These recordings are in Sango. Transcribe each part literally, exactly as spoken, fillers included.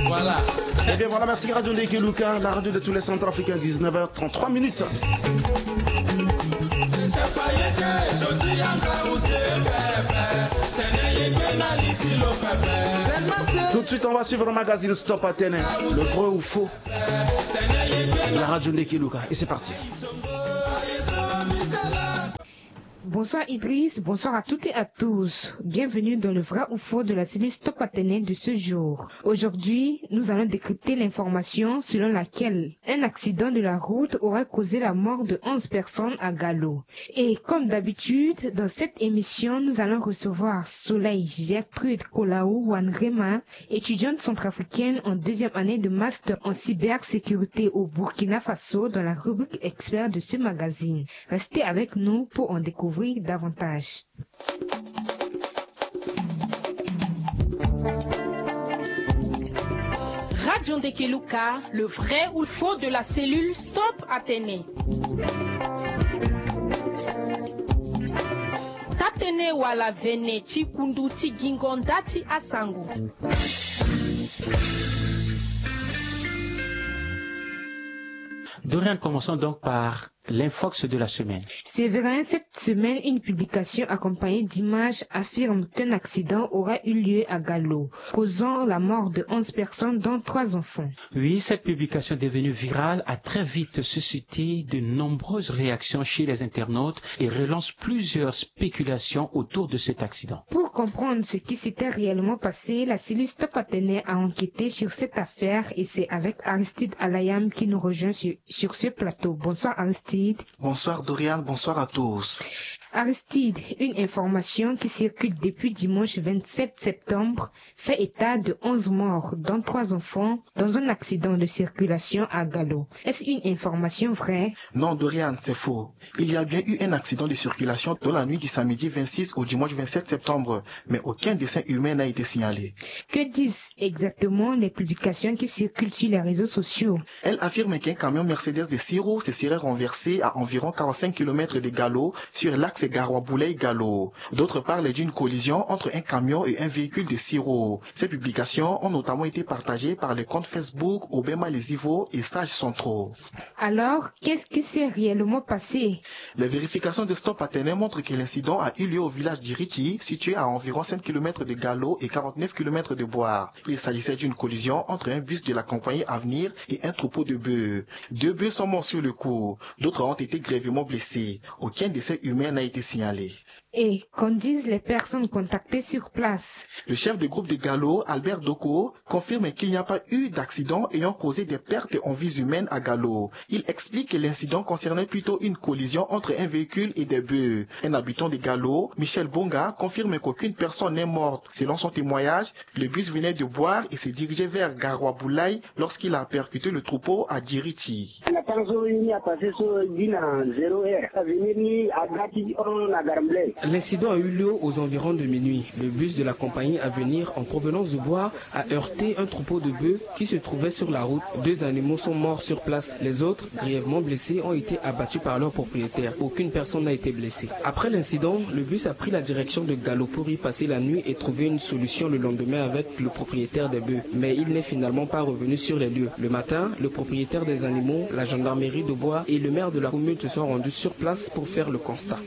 Voilà. Eh bien voilà, merci Radio Ndekeluka, la radio de tous les centrafricains, dix-neuf heures trente-trois minutes. Tout de suite, on va suivre le magazine Stop Atene, le vrai ou faux. La radio Ndekeluka, et c'est parti. Bonsoir Idriss, bonsoir à toutes et à tous. Bienvenue dans le vrai ou faux de la série Stop Atene de ce jour. Aujourd'hui, nous allons décrypter l'information selon laquelle un accident de la route aurait causé la mort de onze personnes à Galo. Et comme d'habitude, dans cette émission, nous allons recevoir Soleil Gertrude Kolau Wanrema, étudiante centrafricaine en deuxième année de master en cybersécurité au Burkina Faso dans la rubrique expert de ce magazine. Restez avec nous pour en découvrir davantage. Radio Ndekeluka, le vrai ou le faux de la cellule Stop Atene. Tatene wala vene ti kundu ti gingo nda ti asango. Dorian, commençons donc par l'infox de la semaine. Séverin, cette semaine, une publication accompagnée d'images affirme qu'un accident aura eu lieu à Galo, causant la mort de onze personnes, dont trois enfants. Oui, cette publication devenue virale a très vite suscité de nombreuses réactions chez les internautes et relance plusieurs spéculations autour de cet accident. Pour comprendre ce qui s'était réellement passé, la cellule Stop Atene a enquêté sur cette affaire et c'est avec Aristide Alayam qui nous rejoint sur, sur ce plateau. Bonsoir Aristide. Bonsoir Dorian, bonsoir à tous. Aristide, une information qui circule depuis dimanche vingt-sept septembre fait état de onze morts, dont trois enfants, dans un accident de circulation à Galo. Est-ce une information vraie ? Non, Dorian, c'est faux. Il y a bien eu un accident de circulation dans la nuit du samedi vingt-six au dimanche vingt-sept septembre, mais aucun décès humain n'a été signalé. Que disent exactement les publications qui circulent sur les réseaux sociaux ? Elles affirment qu'un camion Mercedes de six roues se serait renversé à environ quarante-cinq kilomètres de Galo sur l'axe Garoua-Boulay-Galo. D'autres parlent d'une collision entre un camion et un véhicule de six roues. Ces publications ont notamment été partagées par les comptes Facebook Obema Les Ivo et Sages Centraux. Alors, qu'est-ce qui s'est réellement passé ? Les vérifications de Stop Atene montrent que l'incident a eu lieu au village d'Iriti, situé à environ cinq kilomètres de Galo et quarante-neuf kilomètres de Bouar. Il s'agissait d'une collision entre un bus de la compagnie Avenir et un troupeau de bœufs. Deux bœufs sont morts sur le coup. D'autres ont été grièvement blessés. Aucun décès humain n'a été signalé. Et qu'en disent les personnes contactées sur place ? Le chef de groupe de Galo, Albert Doko, confirme qu'il n'y a pas eu d'accident ayant causé des pertes en vies humaines à Galo. Il explique que l'incident concernait plutôt une collision entre un véhicule et des bœufs. Un habitant de Galo, Michel Bonga, confirme qu'aucune personne n'est morte. Selon son témoignage, le bus venait de Bouar et se dirigeait vers Garoua-Boulay lorsqu'il a percuté le troupeau à Djiriti. L'incident a eu lieu aux environs de minuit. Le bus de la compagnie Avenir en provenance de Bouar a heurté un troupeau de bœufs qui se trouvait sur la route. Deux animaux sont morts sur place. Les autres, grièvement blessés, ont été abattus par leur propriétaire. Aucune personne n'a été blessée. Après l'incident, le bus a pris la direction de Galo pour y passer la nuit et trouver une solution le lendemain avec le propriétaire des bœufs. Mais il n'est finalement pas revenu sur les lieux. Le matin, le propriétaire des animaux, la gendarmerie de Bouar et le maire de la commune se sont rendus sur place pour faire le constat.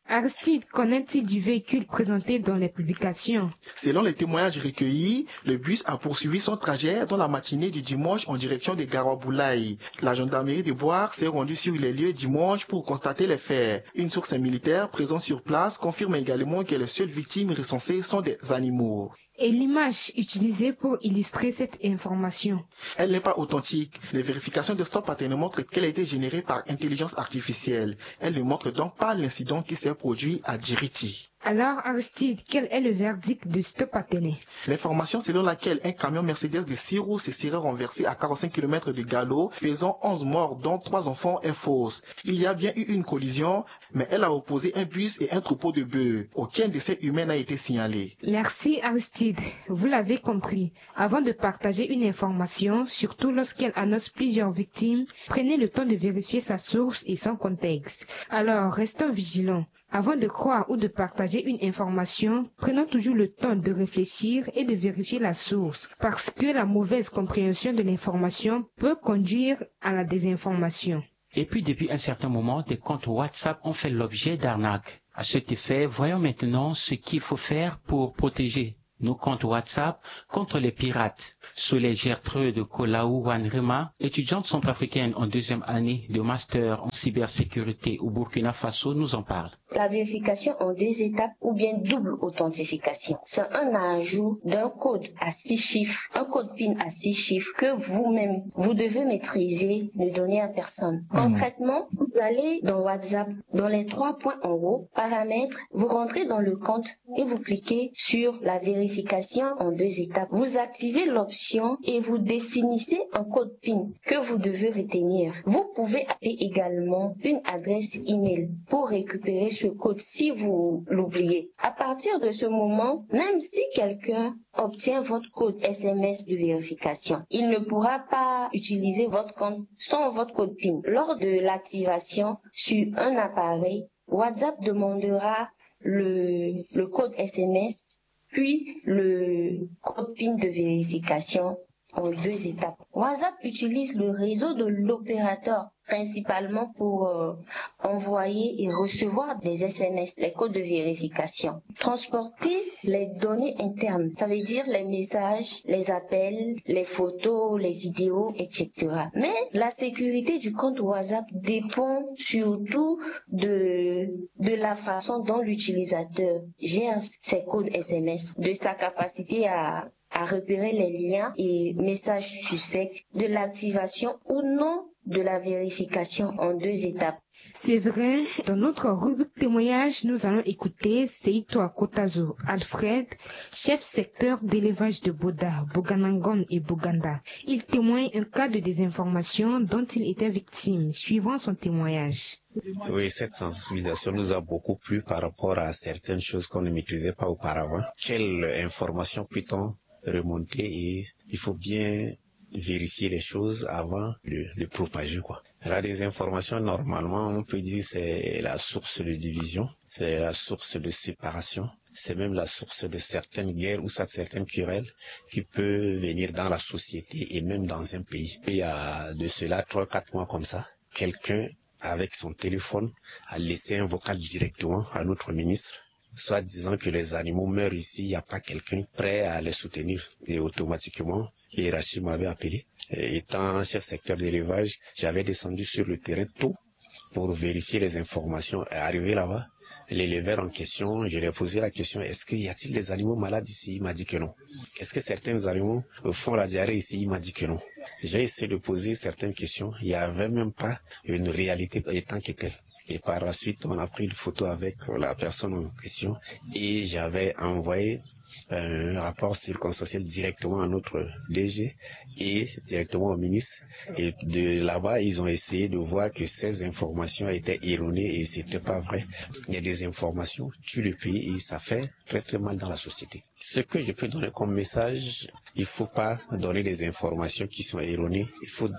Aristide, qu'en est-il du véhicule présenté dans les publications ? Selon les témoignages recueillis, le bus a poursuivi son trajet dans la matinée du dimanche en direction de Garoua-Boulay. La gendarmerie de Bouar s'est rendue sur les lieux dimanche pour constater les faits. Une source militaire présente sur place confirme également que les seules victimes recensées sont des animaux. Et l'image utilisée pour illustrer cette information ? Elle n'est pas authentique. Les vérifications de Stop Atene montrent qu'elle a été générée par intelligence artificielle. Elle ne montre donc pas l'incident qui s'est produit à Djiriti. Alors, Aristide, quel est le verdict de Stop Atene ? L'information selon laquelle un camion Mercedes de six roues se serait renversé à quarante-cinq kilomètres de Galo, faisant onze morts, dont trois enfants, est fausse. Il y a bien eu une collision, mais elle a opposé un bus et un troupeau de bœufs. Aucun décès humain n'a été signalé. Merci Aristide. Vous l'avez compris, avant de partager une information, surtout lorsqu'elle annonce plusieurs victimes, prenez le temps de vérifier sa source et son contexte. Alors, restons vigilants. Avant de croire ou de partager une information, prenons toujours le temps de réfléchir et de vérifier la source, parce que la mauvaise compréhension de l'information peut conduire à la désinformation. Et puis, depuis un certain moment, des comptes WhatsApp ont fait l'objet d'arnaques. À cet effet, voyons maintenant ce qu'il faut faire pour protéger nos comptes WhatsApp contre les pirates. Soleil Gertrude Kolau Wanrema, étudiante centrafricaine en deuxième année de master en cybersécurité au Burkina Faso, nous en parle. La vérification en deux étapes ou bien double authentification, c'est un ajout d'un code à six chiffres, un code pin à six chiffres que vous-même, vous devez maîtriser, ne donner à personne. Concrètement, vous allez dans WhatsApp, dans les trois points en haut, paramètres, vous rentrez dans le compte et vous cliquez sur la vérification en deux étapes. Vous activez l'option et vous définissez un code pin que vous devez retenir. Vous pouvez ajouter également une adresse email pour récupérer ce code si vous l'oubliez. À partir de ce moment, même si quelqu'un obtient votre code S M S de vérification, il ne pourra pas utiliser votre compte sans votre code pin. Lors de l'activation sur un appareil, WhatsApp demandera le, le code S M S, puis le code pin de vérification en deux étapes. WhatsApp utilise le réseau de l'opérateur principalement pour euh, envoyer et recevoir des S M S, les codes de vérification. Transporter les données internes, ça veut dire les messages, les appels, les photos, les vidéos, et cetera. Mais la sécurité du compte WhatsApp dépend surtout de, de la façon dont l'utilisateur gère ses codes S M S, de sa capacité à, à repérer les liens et messages suspects, de l'activation ou non de la vérification en deux étapes. C'est vrai, dans notre rubrique témoignage, nous allons écouter Seito Akotazo Alfred, chef secteur d'élevage de Boda, Boganangon et Boganda. Il témoigne un cas de désinformation dont il était victime, suivant son témoignage. Oui, cette sensibilisation nous a beaucoup plu par rapport à certaines choses qu'on ne maîtrisait pas auparavant. Quelle information peut-on remonter et il faut bien vérifier les choses avant de, de propager, quoi. La désinformation, normalement, on peut dire c'est la source de division, c'est la source de séparation, c'est même la source de certaines guerres ou ça, certaines querelles qui peut venir dans la société et même dans un pays. Il y a de cela trois, quatre mois comme ça, quelqu'un avec son téléphone a laissé un vocal directement à notre ministre, soit disant que les animaux meurent ici, il n'y a pas quelqu'un prêt à les soutenir. Et automatiquement, la hiérarchie m'avait appelé. Et étant chef secteur d'élevage, j'avais descendu sur le terrain tôt pour vérifier les informations. Et arrivé là-bas, l'éleveur en question, je lui ai posé la question, est-ce qu'il y a-t-il des animaux malades ici ? Il m'a dit que non. Est-ce que certains animaux font la diarrhée ici ? Il m'a dit que non. J'ai essayé de poser certaines questions. Il n'y avait même pas une réalité étant que telle. Et par la suite, on a pris une photo avec la personne en question et j'avais envoyé un rapport circonstanciel directement à notre D G et directement au ministre. Et de là-bas, ils ont essayé de voir que ces informations étaient erronées et c'était pas vrai. Il y a des informations tuent le pays et ça fait très, très mal dans la société. Ce que je peux donner comme message, il faut pas donner des informations qui sont erronées. Il faut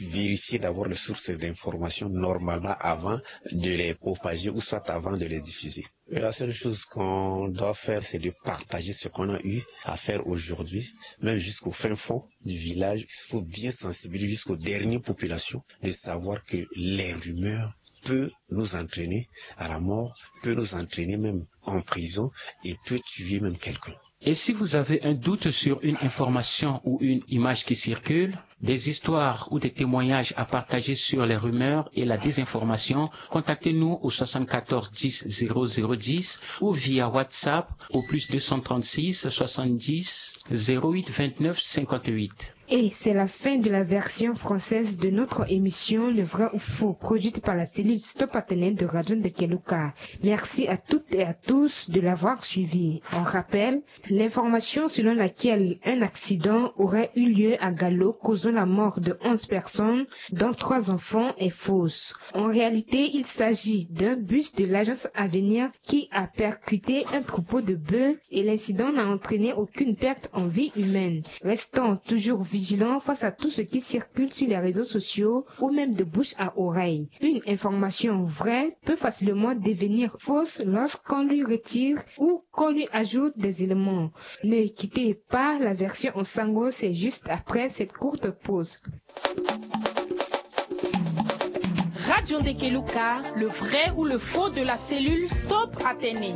vérifier d'abord les sources d'informations normalement avant de les propager ou soit avant de les diffuser. La seule chose qu'on doit faire, c'est de partager ce qu'on a eu à faire aujourd'hui, même jusqu'au fin fond du village. Il faut bien sensibiliser jusqu'aux dernières populations de savoir que les rumeurs peut nous entraîner à la mort, peut nous entraîner même en prison et peut tuer même quelqu'un. Et si vous avez un doute sur une information ou une image qui circule, des histoires ou des témoignages à partager sur les rumeurs et la désinformation, contactez-nous au soixante-quatorze dix zéro zéro dix ou via WhatsApp au plus deux cent trente-six soixante-dix zéro huit vingt-neuf cinquante-huit. Et c'est la fin de la version française de notre émission Le Vrai ou Faux, produite par la cellule Stop Internet de Radio Ndekeluka. Merci à toutes et à tous de l'avoir suivi. On rappelle, l'information selon laquelle un accident aurait eu lieu à Galo causant La mort de onze personnes, dont trois enfants, est fausse. En réalité, il s'agit d'un bus de l'agence Avenir qui a percuté un troupeau de bœufs et l'incident n'a entraîné aucune perte en vie humaine. Restons toujours vigilants face à tout ce qui circule sur les réseaux sociaux ou même de bouche à oreille. Une information vraie peut facilement devenir fausse lorsqu'on lui retire ou qu'on lui ajoute des éléments. Ne quittez pas la version en sango, c'est juste après cette courte pause. Radio Ndekeluka, le vrai ou le faux de la cellule Stop Atene.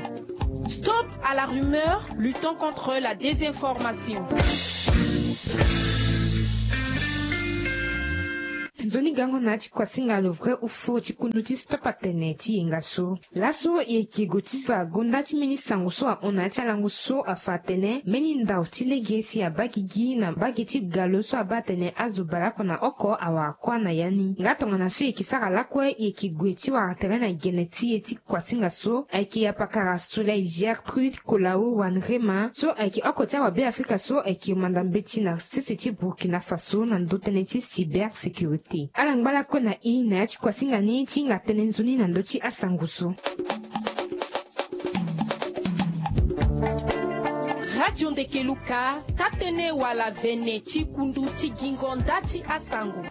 Stop à la rumeur, luttons contre la désinformation. Nzoni gango na ti kuasinga le vrai ou faux ti kundu ti Stop Atene ti yenga so. Laso e yeke gue ti fa gonda ti mbeni sango so ahon na ya ti alango so afa atene mbeni ndau ti lege si abaa gigi na mbage ti galo so abaa atene azo baleoko na oko awara kuâ na ya ni. Nga tongana so e yeke sara lakue, e yeke gue ti wara tere na gene ti e ti kuasinga so ayeke apakara Soleil Gertrude Kolao Wanrema so ayeke oko ti awabe Afrika so ayeke manda mbeti na sese ti Burkina Faso na ndö tënë ti cybersécurité. Ala ngba lakue na e na ya ti kuasinga ni ti hinga tënë nzoni na ndö ti asango so. Radio Ndekeluka, taa-tënë wala vene ti kundu ti gingo nda ti asango.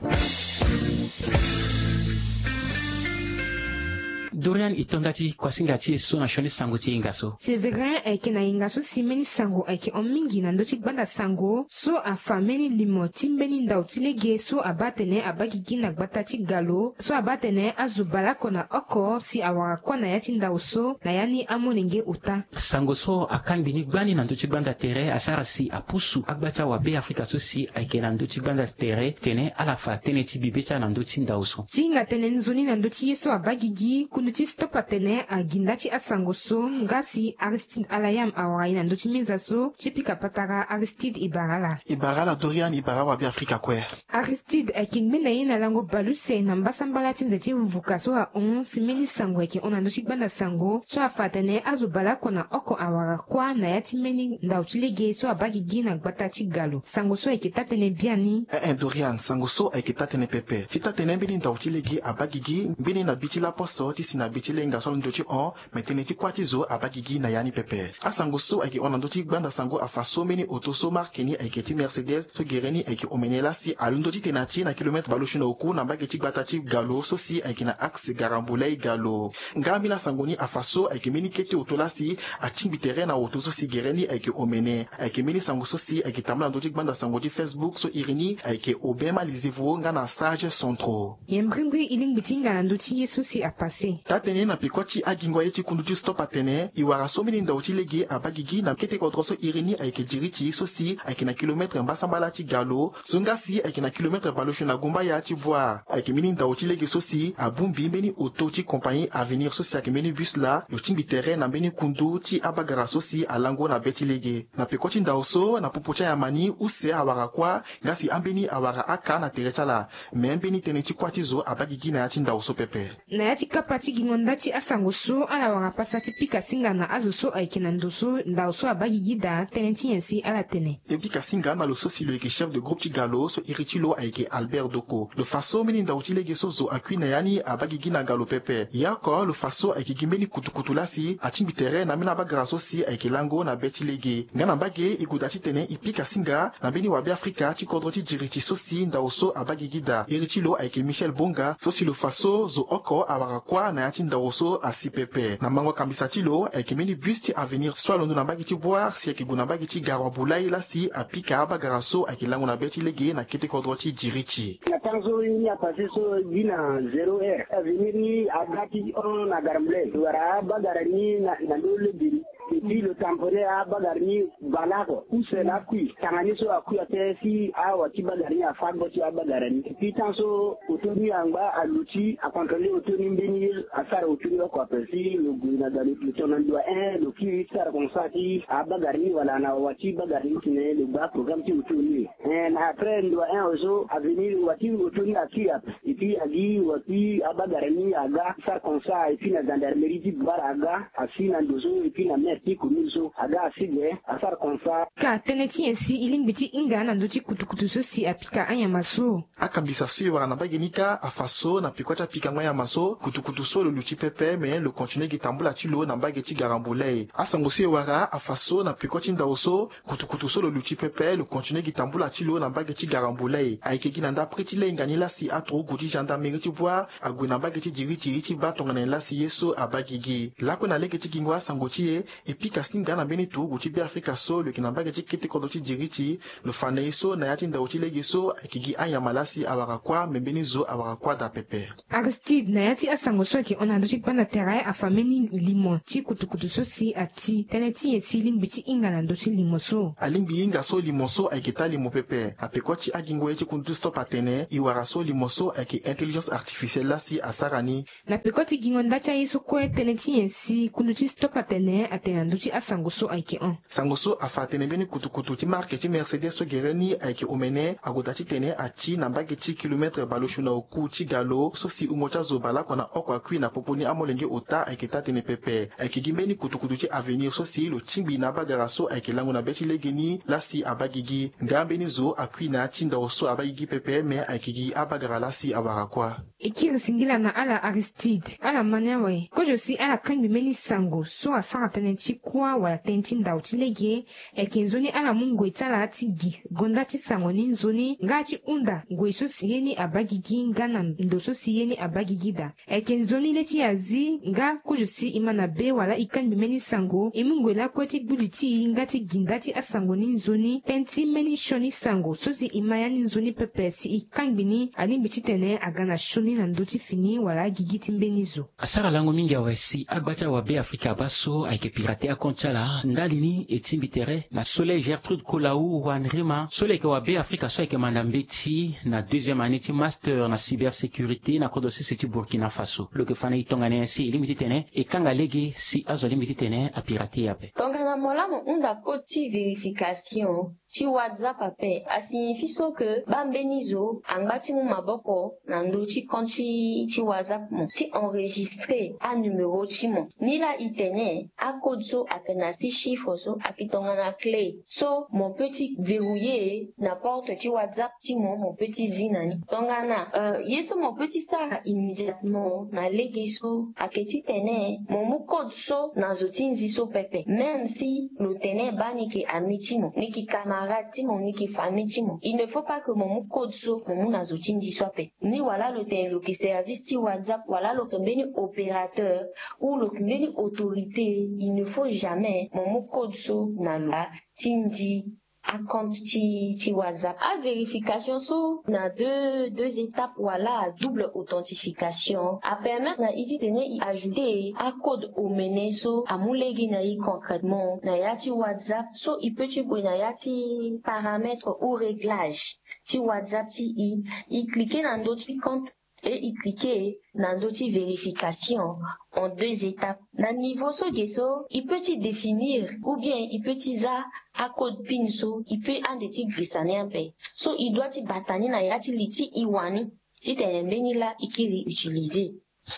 Dorian, e to nda ti kuasinga ti e so na sioni sango ti yenga so. Sévérin ayeke na yenga so si mbeni sango ayeke hon mingi na ndö ti gbanda sango so afa mbeni limo ti mbeni ndau ti lege so abaa atene abaa gigi na gbata ti galo so abaa atene azo baleoko na oko si awara kuâ na ya ti ndau so na ya ni amolenge ota. Sango so akangbi ni gbani na ndö ti gbanda tere asara si apusu agba ti awabe Afrika so si ayeke na ndö ti gbanda tere tene ala fa tënë ti bibe ti ala na ndö ti ndau so. Ti hinga tënë nzoni na ndö ti ye so abaa gigi, kundu ti Stop Atene agi nda ti asango so nga si Aristide Alayam awara e na ndö ti meza so. Ti pika patara Aristide, e bara ala. E bara ala Dorian, e bara awabe Afrika kue. Aristide ayeke ngbene ye na lango baleuse na mbasambala ti nze ti vuka so ahon si mbeni sango ayeke hon na ndö ti gbanda sango so afa atene azo baleoko na oko awara kuâ na ya ti mbeni ndau ti lege so abaa gigi na gbata ti galo. Sango so ayeke taa-tënë biani. Eh eh, Dorian, sango so ayeke taa-tënë pepe. Ti taa-tënë mbeni ndau ti lege abaa gigi ngbene na bi ti laposo ti si na bi ti lenga so alondo ti hon, me tënë ti kuâ ti zo abaa gigi na ya ni pepe. Asango so ayeke hon na ndö ti gbanda sango afa so mbeni oto so marke ni ayeke ti Mercedes so gere ni ayeke omene lasi alondo ti tene na ti na kilometre baleuse na oku na mbage ti gbata ti galo so si ayeke na axe Garambulay Galo. Nga mbeni asango ni afa so ayeke mbeni kete oto lasi atingbi tere na oto so si gere ni ayeke omene. Ayeke mbeni sango so si ayeke tambula na ndö ti gbanda sango ti Facebook so iri ni ayeke Aubin Malizevo nga na Sage Centraux. Ye mbrimbri e lingbi ti hinga na ndö ti ye so si apasse. Taa-tënë na peko ti agingo aye ti kundu ti Stop Atene, e wara so mbeni ndau ti lege abaa gigi na kete kodro so iri ni ayeke Diriti so si ayeke na kilometre mbasambala ti galo so nga si ayeke na kilometre baleuse na gumbaya ti Bouar. Ayeke mbeni ndau ti lege so si abongbi mbeni oto ti compagnie Avenir so si ayeke mbeni bus laa lo tingbi tere na mbeni kundu ti abagara so si alango na be ti lege. Na peko ti ndau so na popo ti anyama ni use awara kuâ nga si ambeni awara aka na tere ti ala. Me mbeni tënë ti kuâ ti zo abaa gigi na ya ti ndau so pepe. Na ya ti kapa ti gingo nda ti asango so ala wara pasa ti pika singa na azo so ayeke na ndo so ndau so abaa gigi daa tënë ti nyen si ala tene. E pika singa na lo so si lo yeke chef de groupe ti galo so iri ti lo ayeke Albert Doko. Lo fa so mbeni ndau ti lege so zo akui na ya ni abaa gigi na galo pepe. Ye oko lo fa so ayeke gi mbeni kutukutu lasi atingbi tere na ambeni abagara so si ayeke lango na be ti lege. Nga na mbage e gue daa titene e pika singa na mbeni wabe Afrika ti kodro ti Diriti so si ndau so abaa gigi daa. Iri ti lo ayeke Michel Bonga so si lo fa so zo oko awara kuâ na ya ti ndau so asi pepe. Na mango kambisa ti lo ayeke mbeni bus ti Avenir so alondo na mbage ti Bouar si ayeke gue na mbage ti Garoua Boulaye lasi apika abagara so ayeke lango na be ti lege na kete kodro ti Diriti. Na temps so ye ni apasse so gi na zéro heure, Avenir ni aga ti hon na Garoua Boulaye, lo wara abagara ni na, na ndö lege ni. Et puis lo tamponner abagara ni baleoko. Use laa akui. Tanga ni so akui ape si awa ti bagara ni afa gbo ti abagara ni. Et puis temps so oto ni angba aluti acontrôler oto ni mbeni ye asara oto ni oko ape si lo gue na galo lo tongana ndo ahin lo kiri ti sara constat ti abagara ni wala na wa ti bagara ni tene lo gba programme ti oto ni. Eh, na après ndo ahin ozo Avenir wa ti oto ni akui ape. Et puis agi wa ti abagara ni aga sara constat et puis na gendarmerie ti Bouar aga asi na ndo so et puis na Ti commune so aga asi ge asara comme ça. Ka tënë ti nyen si e lingbi ti hinga na ndö ti kutukutu so si apika anyama so? Akambisa so e wara na mbage ni kâ afa so na peko ti apikango anyama so kutukutu so lo luti pepe, me lo continue gi tambula ti lo na mbage ti Garambuley. Asango so e wara afa so na peko ti ndao so kutukutu so lo luti pepe, lo continue gi tambula ti lo na mbage ti Garambuley. Ayeke gi na ndapre ti lenga ni la si aturugu ti gendarmerie ti Bouar ague na mbage ti Djiriti ti baa tongana nyen la si ye so abaa gigi. Lakue na lege ti gingo asango ti e, e pika singa na mbeni turugu ti Beafrika so lo yeke na mbage ti kete kodro ti Djiriti, lo fa na e so na ya ti ndao ti lege so ayeke gi anyama la si awara kuâ, me mbeni zo awara kuâ daa pepe. Aristide, na ya ti asango so ayeke hon na ndö ti gbanda tere, afa mbeni limo ti kutukutu so si ati. Tënë ti nyen si e lingbi ti hinga na ndö ti limo so? Alingbi hinga so limo so ayeke taa limo pepe. Na peko ti agingo ye ti kundu ti Stop atene e wara so limo so ayeke intelligence artificielle la si asara ni. Na peko ti gingo nda ti aye so kue, tënë ti nyen si kundu ti Stop atene atene na ndö ti asango so ayeke hon? Sango so afa atene mbeni kutukutu ti marque ti Mercedes so gere ni ayeke omene ague daa titene ati na mbage ti kilomètre baleosio na oku ti ga lo so si wungo ti azo baleoko na oko akui na popo ni amolenge ota ayeke taa-tënë pepe. Ayeke gi mbeni kutukutu ti Avenir so si lo tingbi na abagara so ayeke lango na be ti legeni la si abaa gigi. Nga mbeni zo akui na ya ti ndao so abaa gigi pepe, me ayeke gi abagara la si awara kuâ. E kiri singila na ala Aristide, ala ma ni awe. Kozo si ala kangbi mbeni sango so asara tënë ti kuâ wala tënë ti ndao ti lege, ayeke nzoni ala mu ngoi ti ala ti gi gonda ti sango ni nzoni nga ti hunda ngoi so si ye ni abaa gigi nga na ndo so si ye ni abaa gigi daa. Ayeke nzoni le ti e azi nga kozo si e ma na be wala e kangbi mbeni sango, e mu ngoi lakue ti gbu li ti e nga ti gi nda ti asango ni nzoni. Tënë ti mbeni sioni sango so si e ma ya ni nzoni pepe si e kangbi ni alingbi titene aga na sioni na ndö ti fini wala agigi ti mbeni zo. Asara lango mingi awe si agba ti awabe Afrika baa so ayeke pirate acompte ti ala. Ndali ni e tingbi tere na Soleil Gertrude Kolau Wanrima so lo yeke wabe Afrika so ayeke manda mbeti na deuxième année ti master na cybersécurité na kodro sese ti Burkina Faso. Lo yeke fa na e tongana nyen si e lingbi titene e kanga lege si azo alingbi titene apirate e ape. Tongana mo laa mo hunda code ti vérification ti WhatsApp ape, a signifie so ke baa mbeni zo angba ti mu maboko na ndö ti compte ti, ti WhatsApp mo, ti enregistrer anuméro ti mo. Nilaa e tene acode so ayeke na six chiffres so ayeke tongana clé so mo peut ti verrouiller na porte ti WhatsApp ti mo, mo peut ti zi na ni. Tongana, euh, ye so mo peut ti sara immédiatement na lege so ayeke titene mo mu code so na zo ti nzi so pepe, même si lo tene baa ni yeke ami ti mo, ni yeke camarade ti mo, ni yeke famille ti mo. Il ne faut pas que mo mu code so mo mu na zo ti nzi so ape. Ni wala lo tene lo yeke service ti WhatsApp, wala lo yeke mbeni opérateur, ou lo yeke mbeni autorité, il ne faut jamais mo mu code so na lo ti nzi acompte ti, ti WhatsApp. Avérification so na deux, deux étapes wala double authentification apermettre na e titene e ajouter acode omene so amu lege na e concrètement na ya ti WhatsApp. So e peut ti gue na ya ti paramètre ou réglage ti WhatsApp ti e, e cliquer na ndö ti compte et e cliquer na ndö ti vérification en deux étapes. Na niveau so ge so, e peut ti définir ou bien e peut ti za acode PIN so e peut ande ti girisa ni ape. So e doit ti bata ni na ya ti li ti e wani titene mbeni laa e kiri utiliser.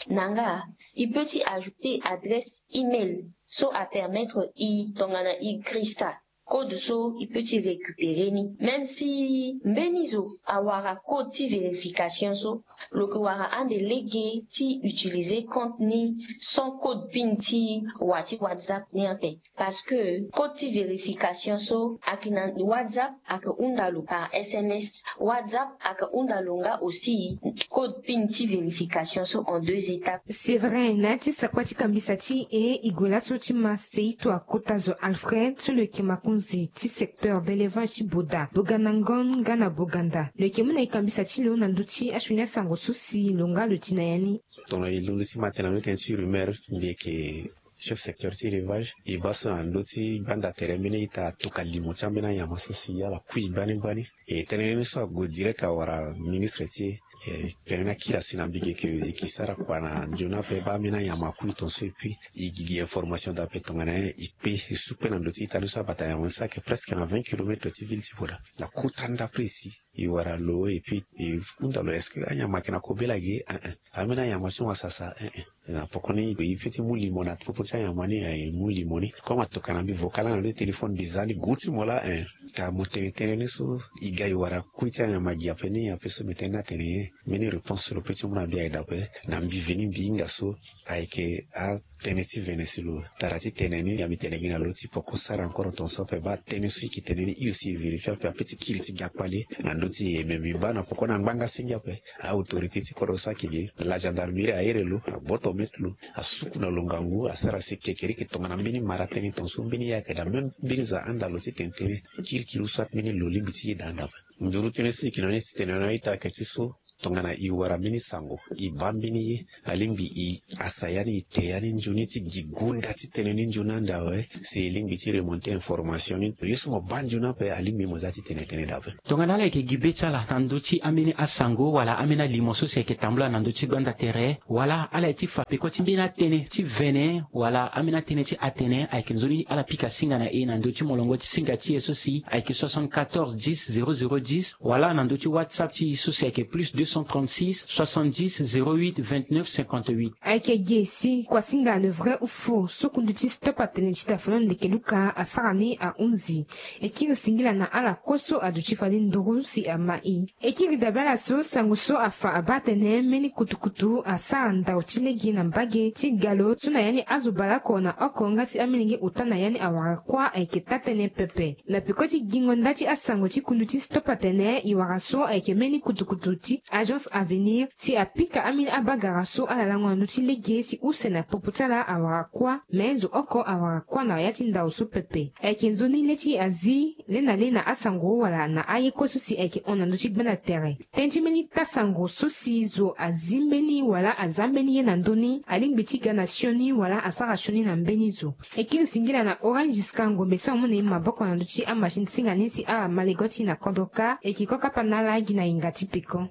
Na nga, e peut ti ajouter adresse email so apermettre e tongana e girisa code so e peut ti récupérer ni. Même si mbeni zo awara code ti vérification so, lo yeke wara ande lege ti utiliser compte ni sans code PIN ti wa ti WhatsApp ni ape. Parce que code ti vérification so ayeke na WhatsApp, ayeke hunda lo par S M S. WhatsApp ayeke hunda lo nga aussi code PIN ti vérification so en deux étapes. C'est vrai, na ya ti sakpa ti kambisa ti e, e gue laso ti ma seito akota zo Alfred so lo yeke makonzi ti secteur d'élevage ti Boda, Boganda Ngon nga na Boganda. Lo yeke mu na e kambisa ti lo na ndö ti asioni asango so si lo nga lo ti na ya ni. Tongana e londo ti ma tene na ndö tënë ti rumeur, mbi yeke chef secteur ti élevage. E baa so na ndö ti gbanda tere mbeni ita atuka limo ti ambeni anyama so si ala kui gbani gbani. E tënë ni so ague direct awara ministre ti e. Tene ni akiri asi na mbi ge ke e ke sara kua na nzoni ape baa ambeni anyama akui tonso. Et puis e gi gi information daa ape tongana nyen e kpe e su kpe na ndö ti ita ni so abata nyama ni so ayeke presque na vingt kilomètres ti ville ti Boda. Na kota ndapre si e wara lo et puis e hunda lo est-ce que anyama ayeke na kobela ge? Ein ein. Ambeni anyama ti mo asasa ein ein. Na poko ni e peut ti mu limo na popo ti anyama ni, e mu limo ni. Comme atokua na mbi vocal na ndö ti téléphone mbi za ni gu ti mo laa ein. Ka mo tene tënë ni so e ga e wara kui ti anyama gi ape ni ape so mbi tene ni atene nyen? Mbeni réponse so lo peut ti mu na mbi ayeke daa ape. Na mbi veni mbi hinga so ayeke atënë ti vene si lo. Tara ti tene ni nga mbi tene gi na lo ti poko sara encore tonso ape baa tënë so e yeke tene ni e aussi e vérifier ape ape ti kiri ti ga kpale. Na ndö ti e me mbi baa na poko na ngbanga senge ape. A-autorité ti kodro so ayeke ge la gendarmerie ahere lo, agboto maitre lo, asuku na lo ngangu, asara si kekereke tongana mbeni mara tënë tonso mbeni ye ayeke daa même mbeni zo ahanda lo ti tene tënë. Kirikiri so mbeni lo lingbi ti yeda anda ape. Nduru tënë so e yeke na ni ti tene na a-ita ayeke ti so tongana e wara mbeni sango e baa mbeni ye, alingbi e asa ya ni e te ya ni nzoni ti gi gunda ti tënë ni nzoni ande awe. Si e lingbi ti remonter information ni, ye so mo baa nzoni ape alingbi mo za ti tene tënë daa ape. Tongana ala yeke gi be ti ala na ndö ti ambeni asango wala ambeni alimo so si ayeke tambula na ndö ti gbanda tere, wala ala ye ti fa peko ti mbeni atënë ti vene wala ambeni atënë ti atene, ayeke nzoni ala pika singa na e na ndö ti molongo ti singa ti e so si ayeke soixante-quatorze dix zéro zéro dix, wala na ndö ti WhatsApp ti e so si ayeke plus deux cent trente-six soixante-dix zéro huit vingt-neuf cinquante-huit. Ayeke ge si kuasinga Le Vrai ou Faux so kundu ti Stop Atene ti Dafano Ndeke Luka asara ni ahunzi. E kiri singila na ala kue so aduti fade nduru si ama e. E kiri dabe ala so sango so afa abaa atene mbeni kutukutu asara ndau ti lege na mbage ti ga lo so na ya ni azo baleoko na oko nga si amolenge ota na ya ni awara kuâ ayeke taa-tënë pepe. Na peko ti gingo nda ti asango ti kundu ti Stop Atene, e wara so ayeke mbeni kutukutu ti Agence Avenir si apika ambeni abagara so ala lango na ndö ti lege si use na popo ti ala awara kuâ, me zo oko awara kuâ na ya ti ndau so pepe. Ayeke nzoni le ti azi le na le na asango wala na aye kue so si ayeke hon na ndö ti gbanda tere. Tënë ti mbeni taa-sango so si zo azi mbeni wala aza mbeni ye na ndö ni, alingbi ti ga na sioni wala asara sioni na mbeni zo. E kiri singila na Orange Scar Ngombe so amu na e maboko na ndö ti amachine ti singa ni si ala ma lego ti e na kodro kâ. E yeke kue kapa na ala gi na yinga ti peko.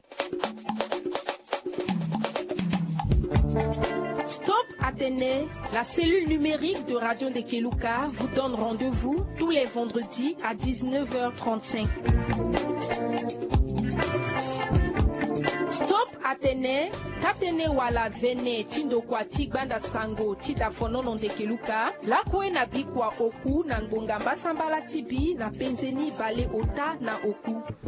Stop Atene, la cellule numérique de Radio Ndekeluka vous donne rendez-vous tous les vendredis à dix-neuf heures trente-cinq. Stop Atene, taa-tënë wala vene ti ndokua ti gbanda sango ti Dafonono Ndekeluka, lakue na bikua oku na ngbonga mbasambala ti bi na penze ni baleota na oku.